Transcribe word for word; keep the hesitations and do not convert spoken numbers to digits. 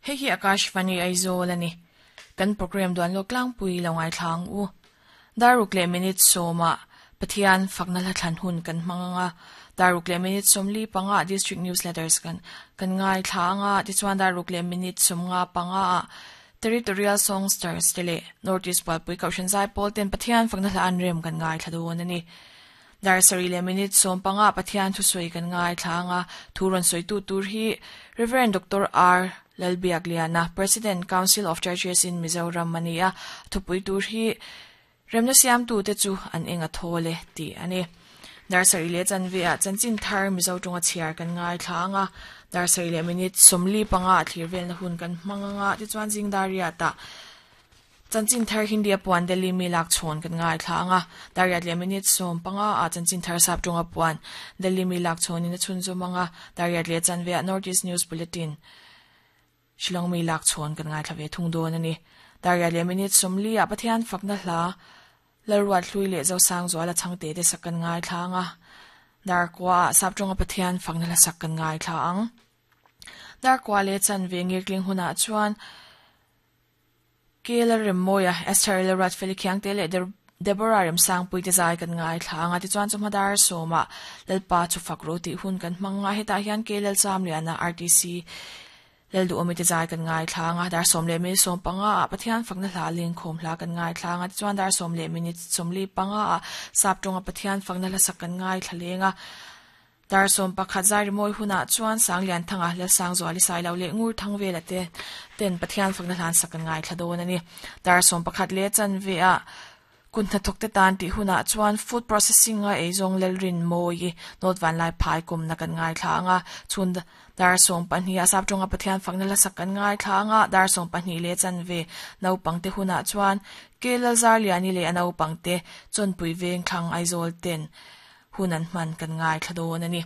Hei hi Akashvani Aizawl ani. Kan program duan lo tlangpui lo ngai thlang u. Daruk le minute sawma Pathian fakna hla thlan hun kan hmang anga. Daruk le minute sawmli panga district newsletters kan kan ngai thla anga. Tichuan daruk le minute sawmnga panga a Territorial Songsters te leh North East Bualpui Kohhran Zai Pawl ten Pathian fakna hla an rem kan ngai thla dawn ani. Dar sarih leh minute sawm panga Pathian thusawi kan ngai thla anga. Thu rawn sawi tu tur hi Reverend Doctor R Lalbiakliana, President, Council of Churches in Mizoram ani a. Thupui tur hi Remna siamtu te chu an eng a thawl e tih ani. Dar sarih leh chanve ah chanchin thar Mizo tawnga chhiar kan ngai thla anga. Dar sarih leh minute sawmli panga ah thlir velna hun kan hmang anga. Tichuan zing dar riat ah chanchin thar Hindi a puan Delhi mi lak chhawn kan ngai thla anga. Dar riat leh minute sawm panga ah chanchin thar sap tawnga puan Delhi mi lak chhawnin a chhunzawm anga. Dar riat leh chanve ah North East News Bulletin Shillong mi lak chhawn kan ngai thla ve thung dawn ani. Dar riat leh minute sawmli ah Pathian fakna hla Lalruat hlui leh Zosang zuala changte te sak kan ngai thla anga. Dar kua ah sap tawnga Pathian fakna hla sak kan ngai thla ang. Dar kua leh chanve ngirtling hunah chuan Kela Remmoia, Esther Lalruat Felikhiang te leh Deborah Remsangpui te zai kan ngai thla anga. Tichuan chawhma dar sawmah Lalpa chu fak ro tih hun kan hmang anga. Hetah hian Kelal Chamliana R T C Lalduhawmi te zai kan ngai thla anga. Dar sawm leh minute sawm panga ah Pathian fakna hla lengkhawm hla kan ngai thla anga. Tichuan dar sawm leh minute sawmli panga ah sap tawnga Pathian fakna hla sak kan ngai thla leng a. Dar sawm pakhat zai rimawi hunah chuan Sanglian thanga Lalsang zuali sai lo leh ngur thang vela te ten Pathian fakna hlan sak kan ngai thla dawn ani. Dar sawm pakhat leh chanve ah kun hnathawk te tan tih hunah chuan food processing a eizawng Lalrin mawi North Vanlai phai kumna kan ngai thla anga. Chhun dar sawm pahnih ah sap tawnga Pathian fakna hla sak kan ngai thla anga. Dar sawm pahnih leh chanve naupang te hunah chuan Kelal Zarliani leh a naupang te chawnpui veng thlang Aizawl ten hun an hman kan ngai thla dawn ani.